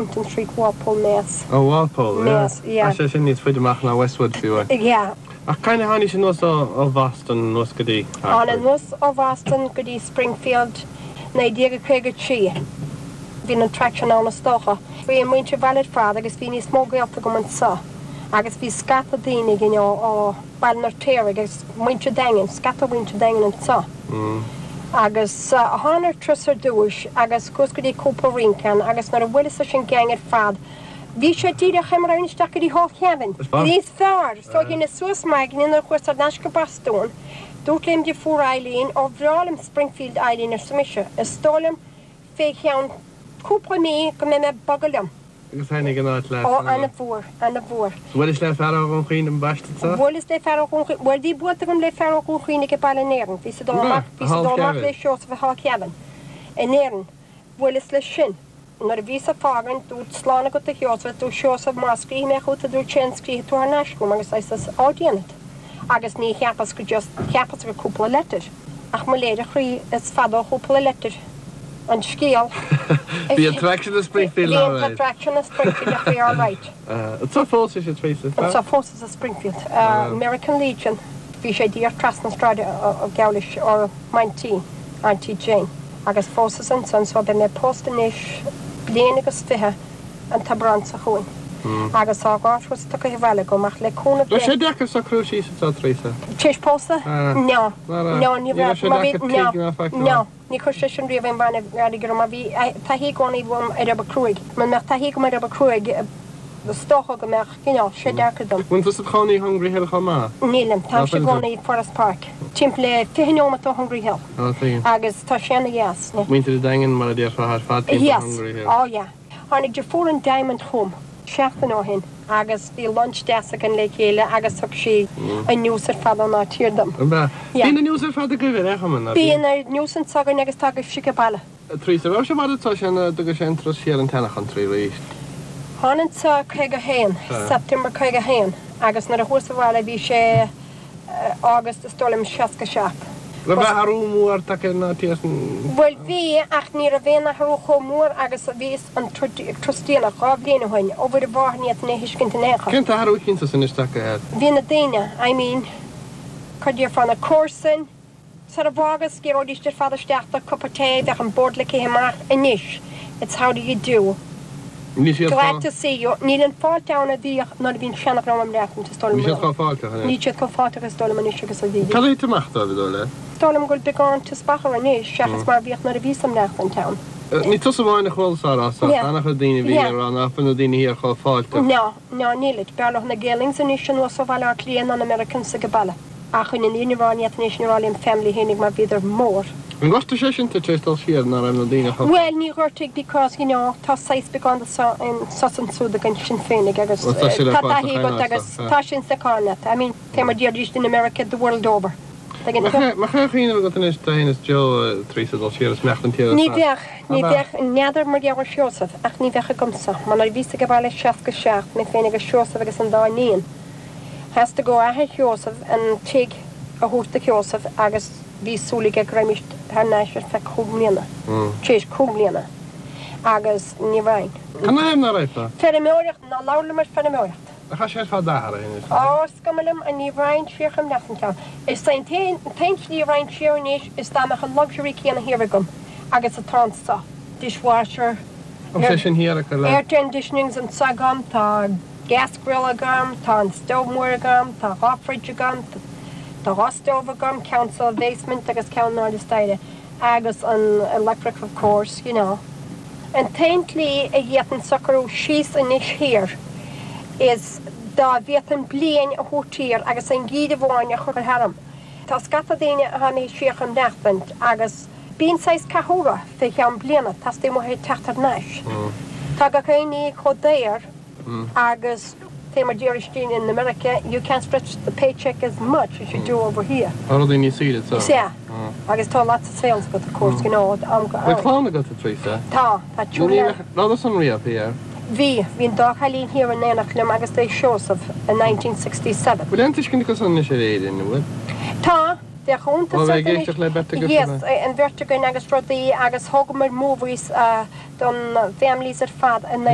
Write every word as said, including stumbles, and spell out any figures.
Brompton Street, Walpole, Mass. Oh, Walpole, yeah. Mass, yeah. Sé sin níos faide amach ná Westwood fiú. Yeah. Ach cén tháinig sin anuas ó Bhoston anuas go dtí. An anuas ó Bhoston go dtí Springfield naoi déag caoga trí. Bhí an attraction ann is dócha. Bhí an muintir bhaile fad agus bhí níos mó gaolta agam anseo. Agus bhí scata daoine you know, ó Bhaile an Fheirtéaraigh agus muintir Daingean, scata muintir Daingean anseo. Mm. Agus uh, tháinig turas ar dtús agus gus go dtí cúpla rince agus nuair a bhuaileas leis an gang ar fad. Bhí sé díreach mar isteach go dtí Hall Kevin. Níos fearr, so dheineas suas m'aigne nuair chuas thar n-ais go Boston. Dúirt lem deirfiúr Eileen ó bhreá liom Springfield Eileen arsa mise. Is dóigh liom fé cheann cúpla mí go mbeidh mé ag bogadh liom. Agus tháinig an áit leat. Ó an-mhór, an-mhór. Bhfuil le fear an chuin an baiste sa? Bhuaileas le fear Bhuel bhí buailte agam le fear Dhún Chaoin ag baile in Éirinn, bhí sa dul bhí sa dul amach le Seosamh Hall Kevin. In Éirinn, bhuaileas leis sin. Nuair a bhí sa fágan dúirt slán agat a Sheosamh dúirt Seosamh má scríobh mé chugat dúirt sé an scríobh tú thar n-ais chugam agus is á déanamh. Agus ní cheapas go just cheapas go cúpla leitir. Ach mo léir a chroí is fada ó chúpla leitir. An scéal. Bhí attraction of Springfield Bhí an attraction of Springfield a bhí all right. Tá fós sé Teresa. Tá fós sa Springfield. Uh, American Legion bhí sé díreach trasna sráide ó Gowlish ó m'aintín, Auntie Jane. Agus fós ansan so beidh mé pósta anois bliain agus fiche an tAibreán seo chugainn. Agus tá dhá thuras tugtha abhaile agam ach le cúnamh Le sé deacair socrú síos atá Teresa. Tar éis pósadh? Ah. No. No, ní Ní raibh sé mar bhí- deacair no, tigh ná feiceáil. No, ní chuir sé sin riamh aon bhain gur mar bhí taithí i gcónaí agam ar obair chruaidh. Mura mbeadh taithí agam ar obair chruaidh is dócha go mbeadh you know, sé deacair dom. Bhfuil tusa i do chónaí Hungry Hill chomh maith? Nílim tá Ná sé fuil tú? gcónaí Forest Park. Timpeall le fiche nóiméad ó Hungry Hill. Á tuigim. Agus tá sé ana-dheas. ne? Muintir an Daingin mar a déarfá ar fad timpeall Yes. Hungry Hill. Oh yeah. Tháinig deirfiúr an Diamond chugam seachtain ó shin agus bhí lunch deas againn le chéile agus thug sí an news ar fad ón áit thiar dom. An bea? Yeah. Bíonn an news ar fad agaibh ar chumann Bíonn an news anseo againn agus tá sí go baile. Teresa raibh sé mar atá sin dtuga sé an turas siar an tseana-country arís. Tháinig sa caoga haon, Ah. September caoga haon, agus nuair a chuas abhaile bhí sé eh, August is dóigh liom seasca seacht. Raibh athrú mór tagtha na tí Bhuel bhí ach ní raibh aon athrú chomh mór agus a bhí an turas déanach dhá bhliain ó shin ó bhí bhá ní na thuiscint in aon chor. Cén t-athrú cinnte sin isteach air? Bhí na daoine, I mean, cad fan na comharsain, Sar a bhágus géródís ar fad isteach cupa tae bheadh an bord leagtha amach anois. It's how do you do? Ní siad Glad to see you. Níl an fáilte ann a bhíodh nuair a bhíonn seanadh am leat is dóigh Ní siad liom. chomh fáilteach Ní siad chomh fáilteach is dóigh liom anois agus a bhí. Cad é amach dóibh dó le? Dóigh liom go bhfuil beagán teaspachar anois seachas mar bhíodh nuair a bhí sam leat an town. Ní tusa amháin a chuala sá Yeah. an-chuid daoine bhí Yeah. rá nach na daoine thiar chomh fáilteach. No, no nílid. B'fhearr leo na Gaelings anois anuas ó Bhaile Átha Cliath an Americans ag baile. Ach chun an rá ní anois ní rá family hénig mar bhíodar mór. An ghortaigh sé sin tú dul siar ná raibh na daoine chomh Well ní ghortaigh because you know tá sais beagán in sos an súd gan sin féinig agus Well, tá sé le tá fáil sa taithí agat chaint agus yeah. tá sin sa I mean fé mar déarfaidís in America the world over. Tuigeann tú? Ma chu chiine agat inis is Joe Teresa dul siar is meach an tí Ní bheadh ní Ab ea? bheadh n'fheadar mar gheall ar Seosamh ach ní bheadh agamsa, mar nuair a bhíos ag baile seasca seacht mé féin agus Seosamh agus an dá iníon. Theastaigh ó athair Sheosamh an tigh a thabhairt do Sheosamh agus bhí súil aige go raghaimís thar n-ais ar feadh cúig bliana. Tar éis cúig bliana. Agus ní raibh. Can na raibh Feirmeoireacht ná labhair mar feirmeoireacht. A cha sé fad d'athair Á scummlam an ní raghainn siar chun lean ceann. Is é an t-aon slí raghainn siar anois is dá mbeadh an luxury céanna thiar agam agus atá anseo. Dishwasher, sé sin thiar le air conditionings anseo agam, tá gas grill agam, tá an stove mór agam, tá dhá fridge agam, tá dhá stove agam, ceann sa basement agus ceann in airde staighre, agus an electric of course, you know. An t-aon tslí a d'fhéadfainn socrú síos anois thiar is dá bhféadfainn bliain a thabhairt thiar agus an geimhreadh amháin a chur tharam. Tá scata daoine a tháinig siar chun maireachtaint agus bíonn saghas cathú orthu fé cheann bliana teastaíonn uathu teacht thar n-ais. Tá gach aon ní chomh daor agus fé mar déarfaidís in America, you can't stretch the paycheck as much as you do over here. Tá rudaí níos saoire Is ea agus tá lots of sales agat of course, you know, am go Bhfuil clann agat a Teresa? Tá tá triúr Lá san riamh thiar. Bhí bhí an dá chailín thiar in éineacht liom agus é Seosamh in nineteen sixty-seven. Bhfuil aon tuiscint acu san anois ar Éirinn, bhfuil? Tá Bheadh iontas le beirt Yes, an bheirt againn agus rudaí agus thógamar movies uh, don families ar fad in